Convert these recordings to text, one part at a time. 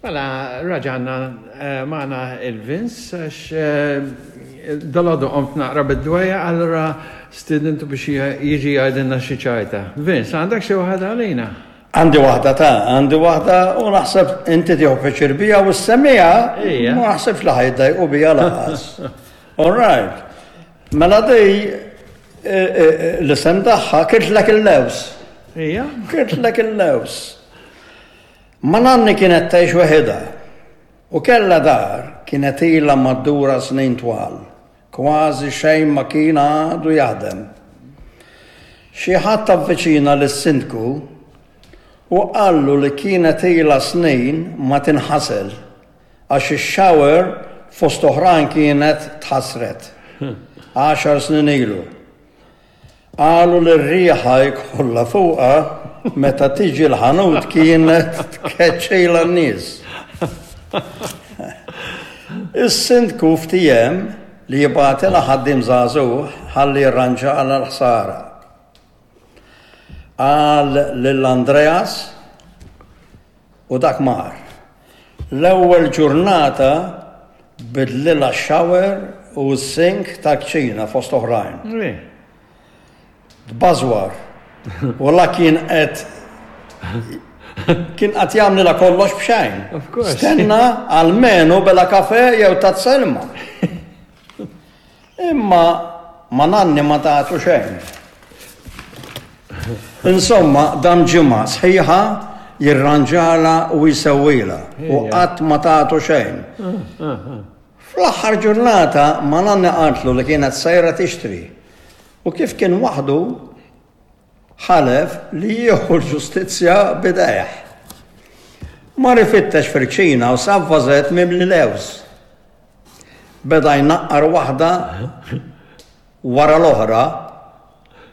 Mela, raġanna eh, magħna il-Vince għax eh, dalodu qomt naqra bid-dwejja allura stidintu biex jiġi jgħidilna xi ċajta. Vince, għandek xi waħda għalina? Għandi waħda ta' għandi waħda u naħseb inti tieħu pjaċir bija u s-semija ma naħsebx li ħajdajqu bija lanqas. All right. Mela di eh, eh, l-isem tagħha kirtlek il-lews. Ija. Kirtlek il-lews. Ma nanni kienet tgħix weħidha u kellha dar kienet ilha maddura snin twal. Kważi xejn ma kien għadu jaħdem. Xi ħadd avviċina lis-sindku u qallu li kienet ilha snin ma tinħasel għax ix-shower fost oħrajn kienet tħassret għaxar snin ilu. Qalu li r-riħa jkollha fuqha meta tiġi l-ħanut kienet tkeċċilha n-nies. Is-sindku ftiehem li jibgħatilha ħaddiem żagħżugħ ħalli jirranġalha l-ħsara. Qal lil Andreas u dak mar. L-ewwel ġurnata bidlilha x-shower u s-sink tal-kċina fost oħrajn. Tbażwar. U la kien qed kien qed jagħmlilha kollox b'xejn. Stenna almenu bela kafe jew tazza ilma. Imma ma nanni ma tagħtu xejn. Insomma, dam ġimgħa sħiħa jirranġala u jsewwilha u qatt ma tagħtu xejn. Fl-aħħar ġurnata ma nanni qaltlu li kienet sejra tixtri u kif kien waħdu ħalef li jieħu l-ġustizzja b'idejh. Mar ifittex fil-kċina u sab vażett mimli lewż. Beda jnaqqar waħda wara l-oħra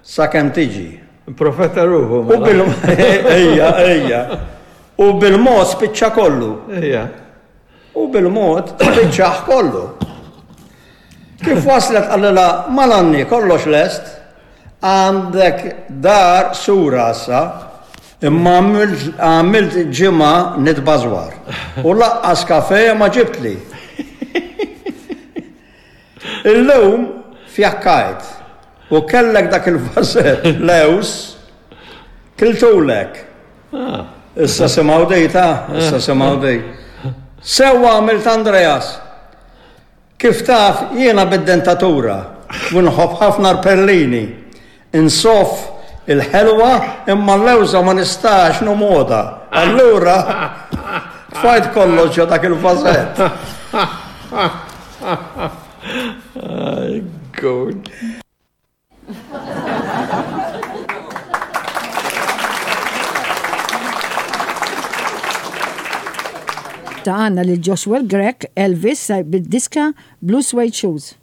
sakemm tiġi. Profeta ruħu. U bil ejja, ejja. U bil-mod spiċċa kollu. Ejja. U bil-mod spiċċaħ kollu. Kif waslet qalilha malanni kollox lest, għandek dar sura issa, imma għamilt ġimgħa nitbażwar. U laqqas kafe ma ġibtli. Illum fjakkajt u kellek dak il-vażett lewż kiltulek. Ah. Issa simgħu di ta' issa simgħu di. Sewwa għamilt Andreas. Kif taf jiena bid-dentatura u nħobb ħafna l-perlini. Insoff il-ħelwa imma l-lewża ma nistax nomgħodha. Allura tfajt kollox ġo dak il-vażett. Good. Ta' għanna lil Joshua Grech, Elvis, bid-diska Blue Suede Shoes.